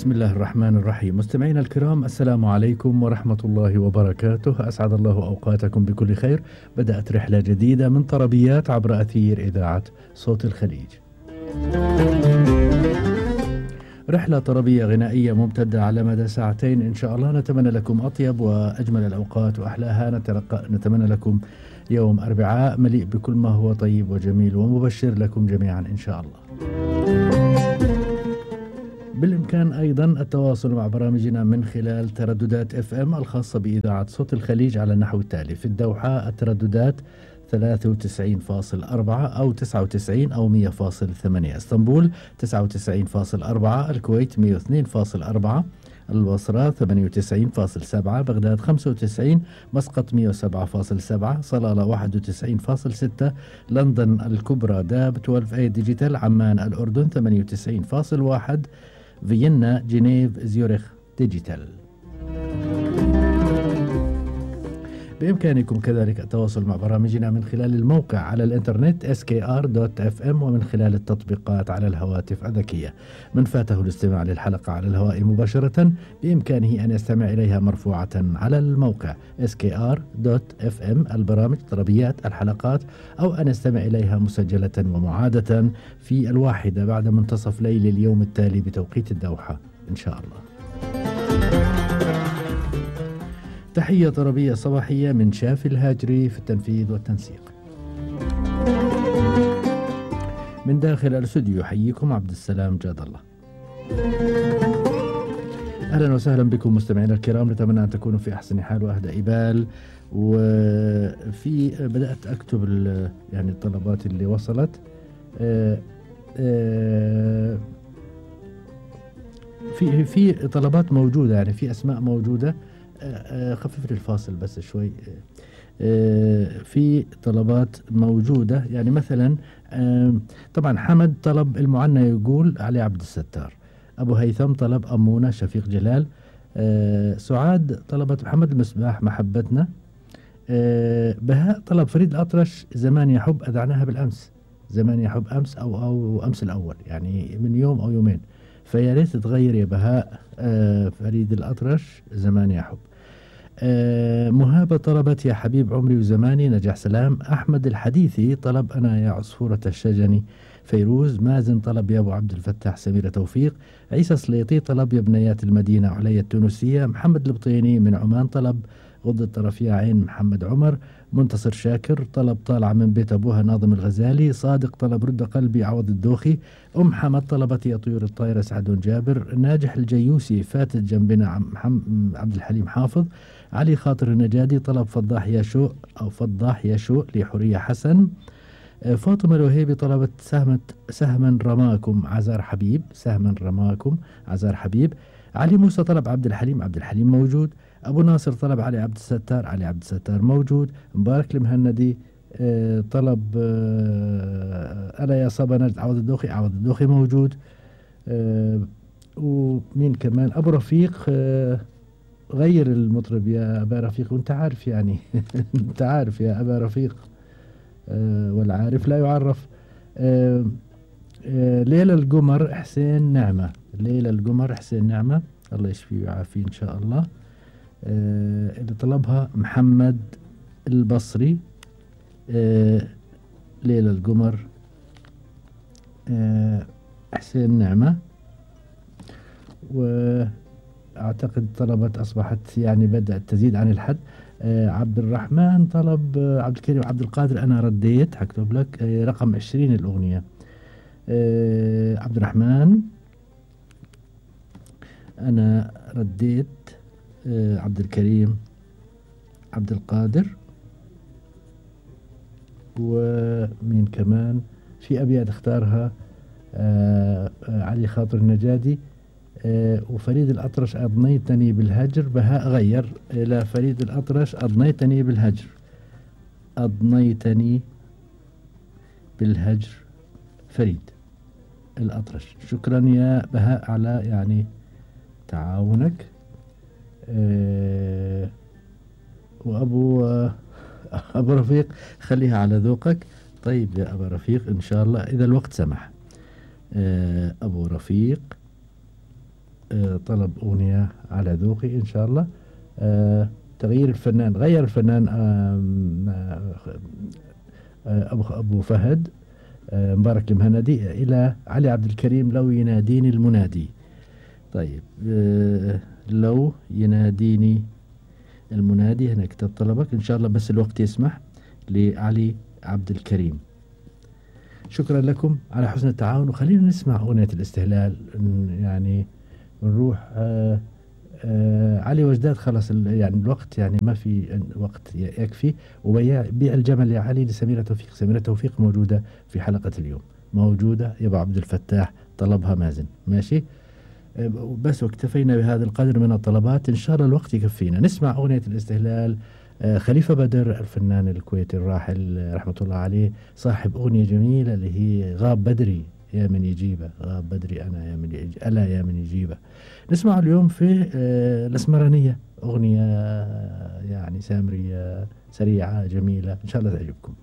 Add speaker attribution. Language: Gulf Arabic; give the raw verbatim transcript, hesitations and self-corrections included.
Speaker 1: بسم الله الرحمن الرحيم. مستمعينا الكرام، السلام عليكم ورحمة الله وبركاته. أسعد الله أوقاتكم بكل خير. بدأت رحلة جديدة من طربيات عبر أثير إذاعة صوت الخليج. رحلة طربية غنائية ممتدة على مدى ساعتين إن شاء الله. نتمنى لكم أطيب وأجمل الأوقات وأحلاها. نتمنى لكم يوم أربعاء مليء بكل ما هو طيب وجميل ومبشر لكم جميعا إن شاء الله. بالإمكان أيضا التواصل مع برامجنا من خلال ترددات اف ام الخاصة بإذاعة صوت الخليج على النحو التالي: في الدوحة الترددات ثلاثة وتسعين فاصل أربعة أو تسعة وتسعين أو مية فاصل ثمانية، اسطنبول تسعة وتسعين فاصل أربعة، الكويت مية واثنين فاصل أربعة، البصرة ثمانية وتسعين فاصل سبعة، بغداد خمسة وتسعين، مسقط مية وسبعة فاصل سبعة، صلالة واحد وتسعين فاصل ستة، لندن الكبرى داب اثنا عشر اي ديجيتال، عمان الأردن ثمانية وتسعين فاصل واحد، فيينا جنيف زيورخ ديجيتال. بإمكانكم كذلك التواصل مع برامجنا من خلال الموقع على الإنترنت إس كي آر دوت إف إم ومن خلال التطبيقات على الهواتف الذكية. من فاته الاستماع للحلقة على الهواء مباشرة بإمكانه أن يستمع إليها مرفوعة على الموقع إس كي آر دوت إف إم، البرامج، طربيات، الحلقات، أو أن يستمع إليها مسجلة ومعادة في الواحدة بعد منتصف ليل اليوم التالي بتوقيت الدوحة إن شاء الله. تحية طربية صباحية من شافي الهاجري في التنفيذ والتنسيق. من داخل الاستوديو يحييكم عبد السلام جاد الله. أهلا وسهلا بكم مستمعينا الكرام. نتمنى أن تكونوا في أحسن حال وأهدى بال. وفي بدأت أكتب يعني الطلبات اللي وصلت. آآ آآ في في طلبات موجودة، يعني في أسماء موجودة. خففت الفاصل بس شوي. في طلبات موجودة، يعني مثلا طبعا حمد طلب المعنى يقول علي عبد الستار، أبو هيثم طلب أمونة شفيق جلال، سعاد طلبت محمد المصباح محبتنا، بهاء طلب فريد الأطرش زمان يحب، أذعناها بالأمس، زمان يحب أمس أو أو أمس الأول، يعني من يوم أو يومين، فيا ريت تغير يا بهاء فريد الأطرش زمان يحب. آه مهابة طلبت يا حبيب عمري وزماني نجح سلام. أحمد الحديثي طلب أنا يا عصفورة الشجني. فيروز مازن طلب يا أبو عبد الفتاح سميرة توفيق. عيسى سليطي طلب يا بنيات المدينة علي التونسية. محمد البطيني من عمان طلب غض الطرف يا عين محمد عمر. منتصر شاكر طلب طالعة من بيت أبوها ناظم الغزالي. صادق طلب رد قلبي عوض الدوخي. أم حمد طلبت يا طيور الطايرة سعد جابر. ناجح الجيوسي فاتت جنبنا عبد الحليم حافظ. علي خاطر النجادي طلب فضاح يا شو أو فضاح يا شو لحورية حسن. فاطمة الوهيبي طلبت سهمة سهما رماكم عزار حبيب، سهما رماكم عزار حبيب. علي موسى طلب عبد الحليم، عبد الحليم موجود. أبو ناصر طلب علي عبد الستار، علي عبد الستار موجود. مبارك المهندي طلب أنا يا صبا نجد عوض الدوخي، عوض الدوخي موجود. ومين كمان؟ أبو رفيق غير المطرب يا أبا رفيق، وانت عارف يعني انت عارف يا أبا رفيق، أه والعارف لا يعرف. أه أه ليلة القمر حسين نعمة، ليلة القمر حسين نعمة الله يشفيه ويعافيه إن شاء الله. أه اللي طلبها محمد البصري. أه ليلة القمر أه حسين نعمة. و أعتقد طلبت أصبحت يعني بدأت تزيد عن الحد. آه عبد الرحمن طلب آه عبد الكريم عبد القادر أنا رديت، هكتب لك آه رقم عشرين الأغنية. آه عبد الرحمن أنا رديت. آه عبد الكريم عبد القادر. ومين كمان في أبيات اختارها؟ آه آه علي خاطر النجادي. آه وفريد الأطرش أضنيتني بالهجر. بهاء غير إلى فريد الأطرش أضنيتني بالهجر، أضنيتني بالهجر فريد الأطرش. شكرا يا بهاء على يعني تعاونك. آه وأبو آه أبو رفيق خليها على ذوقك. طيب يا أبو رفيق إن شاء الله إذا الوقت سمح. آه أبو رفيق آه، طلب أغنية على ذوقي إن شاء الله. آه، تغيير الفنان، غير الفنان آم، آه، آه، أبو أبو فهد آه، مبارك المهندي إلى علي عبد الكريم لو يناديني المنادي. طيب آه، لو يناديني المنادي، هنا كتب طلبك إن شاء الله بس الوقت يسمح، لعلي عبد الكريم. شكرا لكم على حسن التعاون، وخلينا نسمع أغنية الاستهلال يعني ونروح. آه آه علي وجداد خلاص يعني الوقت يعني ما في وقت يكفي. وبيع بيع الجمل يا علي لسميرة توفيق. سميرة توفيق موجودة في حلقة اليوم، موجودة يا أبو عبد الفتاح، طلبها مازن ماشي. آه بس واكتفينا بهذا القدر من الطلبات، إن شاء الله الوقت يكفينا. نسمع أغنية الاستهلال. آه خليفة بدر الفنان الكويتي الراحل آه رحمة الله عليه، صاحب أغنية جميلة اللي هي غاب بدري يا من يجيبه، غاب بدري أنا يا من يجيبه، ألا يا من يجيبه. نسمع اليوم في آه الأسمرانية أغنية آه يعني سامرية سريعة جميلة إن شاء الله تعجبكم.